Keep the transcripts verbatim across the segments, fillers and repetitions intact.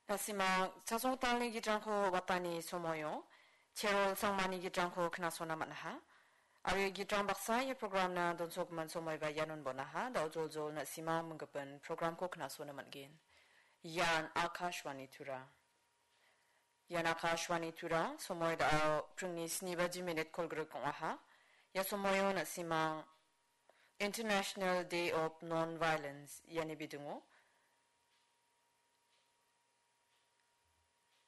Nasima chasongtalni gitrangko watani somoio, Cherol Sangmani gitrangko knasona man·aha. Aro ia gitrang baksa ia programna donsogimin somoiba ianon bonaha, da·o joljol na·simang minggipin programko knasona man·gen. Ian Akashvani Tura. Ian Akashvani Tura, somoi da·o pringni sni baji minit kolgrik ong·aha. Ia somoio na·simang International Day of Non-Violence iani bidingo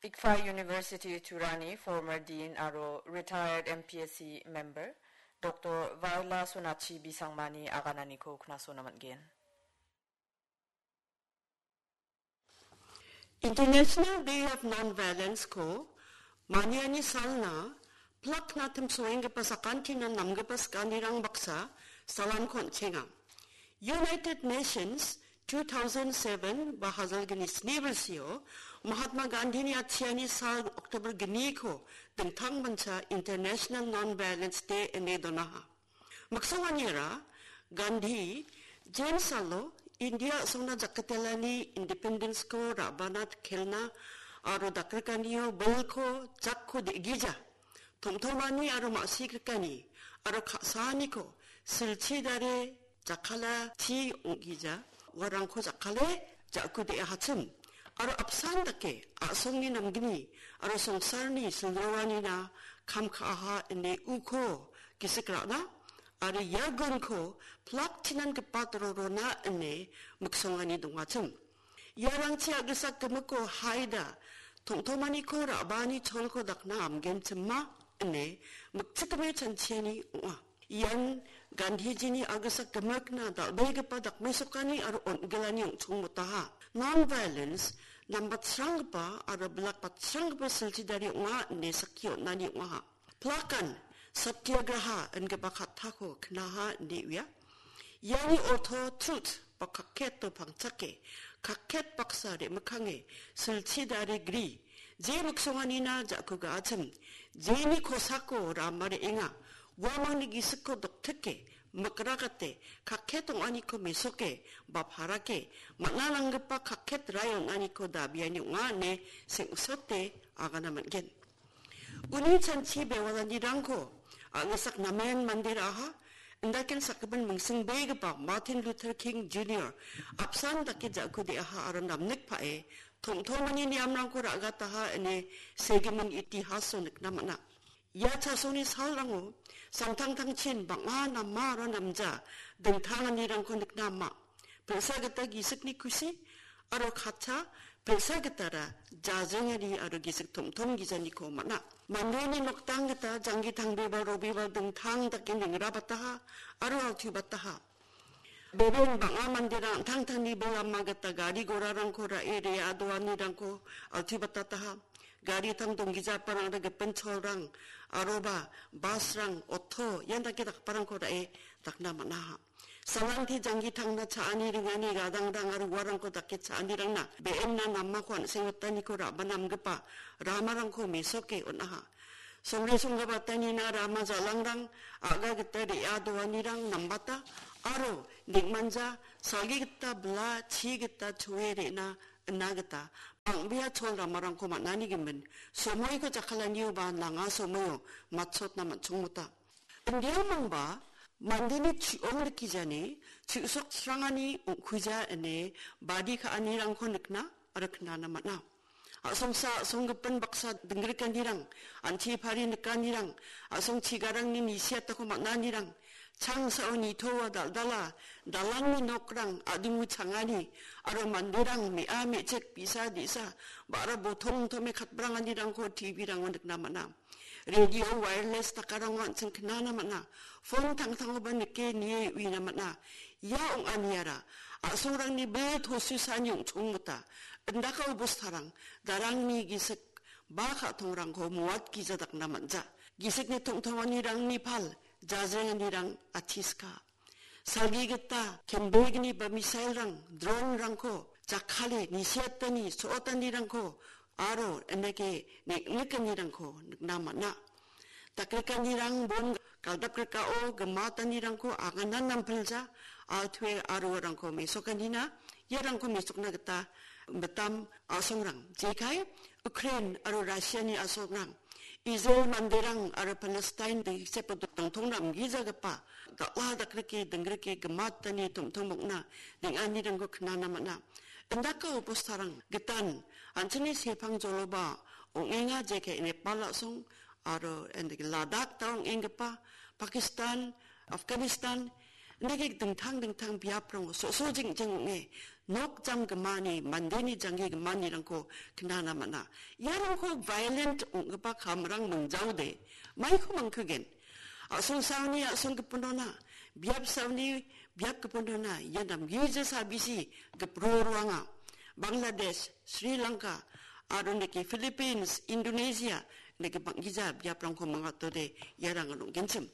Ikfa University Turani former dean aro retired M P S C member Doctor Vaila Sonachi Bisangmani agananiko knasona man·gen. International Day of Non-Violence-ko maniani salna plakna timsoenggipa sakantinan namgipa sikanirang baksa salamko on·chenga. United Nations two thousand seven ba hajalgni sni bilsio Mahatma Gandhini atchiani sal October gniko dingtangmancha International Non-Violence Day ine donaha. Miksonganiara Gandhi, James salo India a·songna jakketelani independence-ko ra·bana kelna aro dakrikanio bilko jakko de·gija, tom·tomani aro ma·sikrikani aro ka·saaniko silchi dare jakkala chi ong·gija, uarangko jakkale ja·kude·ahachim. Aro apsan dake a·songni namgni aro songsarni silroanina kam ka·aha ine uko gisik ra·na, aro ia gunko plak chinangipa rorona ine miksongani dongachim. Iarangchi a·gisak gimikko haida, tom·tomaniko ra·baani cholko dakna amgenchima ine mikchikgime chanchiani ong·a. Ian Gandhijini a·gisak gimikna dal·begipa dakmesokani aro on·gilani ong·chongmotaha. Non-violence, nambatsranggipa aro bilakbatsranggipa silchidari ong·a ine sakki on·ani ong·aha. Plakan satyagraha ingipa kattako knaha ine uia. Iani orto truth ba kakketo pangchake, kakket baksa re·mikkange, silchi dare gri, je miksonganina ja·ku ga·achim, jeni kosako rama re·enga, uamangni gisikko doktike, mikragate, kakket ong·aniko mesoke, ba parake, man·a nanggipa kakket rai on·aniko dabiani ong·a ine seng·sote agana man·gen. Uni chanchi bewalanirangko a·gisak namen mande ra·aha, indaken sakgipin mingsingbegipa Martin Luther King Junior apsan dake ja·kude·aha aro namnikpae tom·tomani niamrangko ra·gataha ine segimin itihaso nikna man·a. Ia chasongni salrango samtangtangchin bang·a nama aro namja dingtanganirangko nikna ama. Pil·sa gita gisikni kusi aro katcha, pil·sa gitara jajengani aro gisik tom·tom gijaniko man·a. Mandeni nokdang gita janggi tangbe ba robi ba dingtang dake ningrabataha aro altu bataha. Beben bang·a manderang an·tangtangni bilama gita gari gorarangko ra·e re·adoanirangko altu batataha. Garitang donggijaparangde gipin cholrang aroba basrang, oto, ian dake dakgiparangko ra·e dakna man·aha. Salangti janggi tangna cha·ani ringani gadangrang aro uarangko dake cha·anirangna be·enna namako an·seng wataniko ra·bana namgipa ramarangko mesoke on·aha. Songre songgabatanina rama jalangrang a·ga gita re·adoanirang nambata aro neng·manja salgi gita bla chi gita choe re·na ina gita bang·bea chol ramarangko man·ani gimin, somoiko jakkalanioba nanga somoio matchotna man·chongmota. Indiamangba mandeni chu·ong rikgijani chu·soksrangani ong·kuja ine badi ka·anirangko nikna aro knana man·a. A·songsa a·songgipin baksa dingrikanirang, an·ching pari nikanirang, a·song chigarangni nisiatako man·anirang, changsao nitoa dal·dala, dalangni nokrang, a·dingu changani, aro manderang me·a me·chik, bi·sa di·sa, ba·ra botong tome katbranganirangko T V-rango nikna man·a. Radio wireless dakarango an·ching knana man·a. Phone tangtangoba nike nie uina man·a. Ia ong·aniara a·songrangni bil tosusani ong·chongmota. Indaka obostarang darangni gisik ba ka·tongrangko mowat gija dakna man·ja. Gisikni tongtonganirangni pal jajrenganirang atiska. Salgi gita kembegni ba misailrang, dronrangko jakkale nisiatani so·otanirangko aro indake neng·nikanirangko nikna man·a. Dakrikanirang bon galdapgrikao gimatanirangko agana nampilja, altu·e aroarangko mesokanina Iarangko mesokna gita mitam a·songrang, jekai Ukraine aro Russiani a·songrang, Israel manderang aro Palestine dengsepo dongtongrang gijagipa dal·a dakrike dingrike gimatani tomtom ong·na ding·anirangko knana man·a. Indaka obostarang gitan an·chingni sepang joloba ong·enga, jekai Nepal a·song aro endake Ladakh ta ong·enggipa Pakistan, Afghanistan, indake dingtang dingtang biaprango so·so jing·jing ong·e nok jam gimani, mandeni janggi gimanirangko knana man·a. Iarangko violent ong·gipa kamrang mingjaode maiko mangkigen. A·songsaoni a·song gipinona, biapsaoni biap gipinona, ia namgija sabisi gipro roanga. Bangladesh, Sri Lanka, aro neke Philippines, Indonesia, neke bang·gija biaprangko mangatode iarang ong·genchim.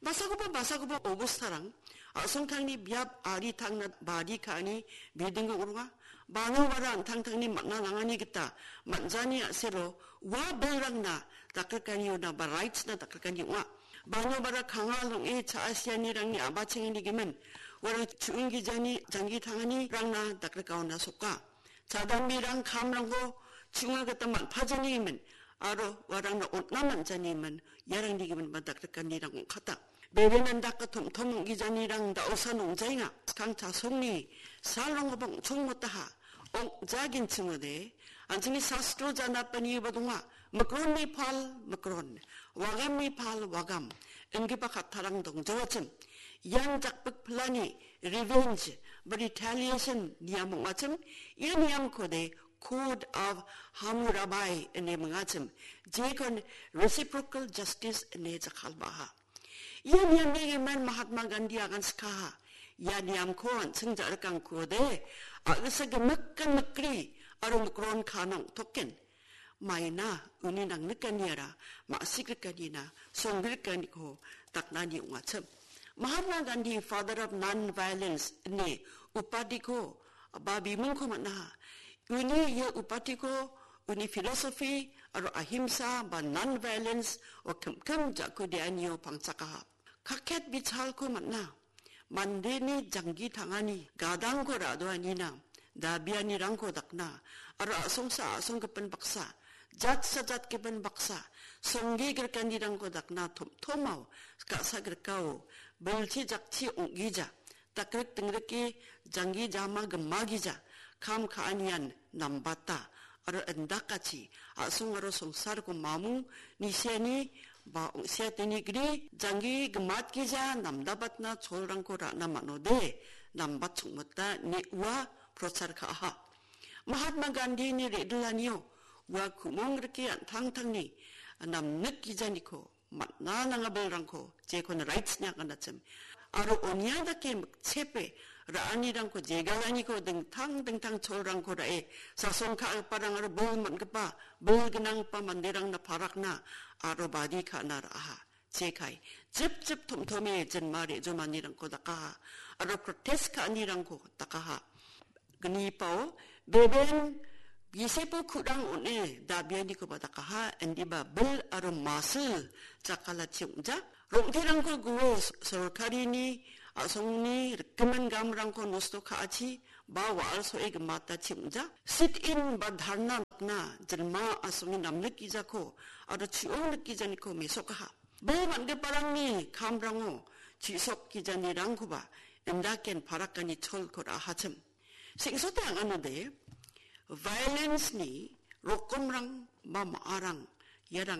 Basakoba, basakoba obostarang, a·songtangni biap ari tangna bari ka·ani bilding ong·ronga. Bano bara an·tangtangni man·a nangani gita man·jani a·selo ua bilrangna dakgrikaniona ba rights-na dakgrikani ong·a. Bano bara kangal ong·e cha·asianirangni a·bachengani gimin uarang chu·ong gijani janggi tanganirangna dakgrikaona soka. Chadamberang kamrangko chu·onga gita man·pajanigimin aro uarangna on·na man·janigimin iarangni gimin ba dakrikanirang ong·kata. Bebe mandaka tom·tom ong·gijanirang da·osa nongjaenga. Skang chasongni salrangkoba ong·chongmotaha. Ong·jagenchimode, an·chingni sastro janapaniba donga. Mikronni pal mikron, wagamni pal wagam, ingipa kattarang dongjawachim. Ian jakpik pilani revenge ba retaliation niam ong·achim. Ia niamkode Code of Hammurabi ine mingachim. Jekon reciprocal justice ine jakkalbaha. Ia niamni gimin Mahatma Gandhi aganskaha. Ia niamko an·ching ja·rikangkuode, a·gisa gimikan mikri aro mikron kanong token. Maina uni nangnikaniara ma·sikrikanina songgrikaniko daknani ong·achim. Mahatma Gandhi, Father of Non-Violence ine upadiko ba bimungko man·aha. Uni ia upadiko uni philosophy aro ahimsa ba non-violence o kim-kim ja·kudeanio pangchakaha. Kaket bichalko man·a. Mandeni janggi tangani gadangko ra·doanina, dabianirangko dakna, aro a·songsa a·songgipin baksa, jatsa jatgipin baksa, songge grikanirangko dakna tomtomao, ka·sa grikao, bilchi jakchi ong·gija, dakrik dingrike janggi jama gimagija, kam ka·anian nambata, aro indakachi, a·song aro songsarko mamung nisiani ba ong·siateni gri janggi gimatgija namdabatna cholrangko ra·na man·ode, nambat chongmota ine ua prochar ka·aha. Mahatma Gandhini re·dilanio ua ku·mong rike an·tangtangni namnikgijaniko man·a nanga bilrangko, jekon rights-ni aganachim. Aro onia dake mikchepe ra·anirangko, jegalaniko, dingtang dingtang cholrangko ra·e, sasong ka·giparang aro bil man·gipa, bil gnanggipa manderangna parakna aro badi ka·na ra·aha. Jekai, jipjip tomtome jinma re·jomanirangko dakaha, aro protest ka·anirangko dakaha. Gnipao, beben gisepo ku·rang on·e dabianikoba dakaha, indiba bil aro masil jakkalati ong·ja. Rong·terangko gue sorkarini a·songni rikgimin gamrangko nosto ka·achi ba wa·al so·e gimatachi ong·ja. Sit-in ba dharna dakna jinma a·songni namnikgijako aro chu·ong nikgijaniko mesokaha. Bil man·giparangni kamrango chu·sokgijanirangkoba indaken parakani cholko ra·ahachim. Sengsote ang·anode, violence-ni rokomrang ba ma·arang iarang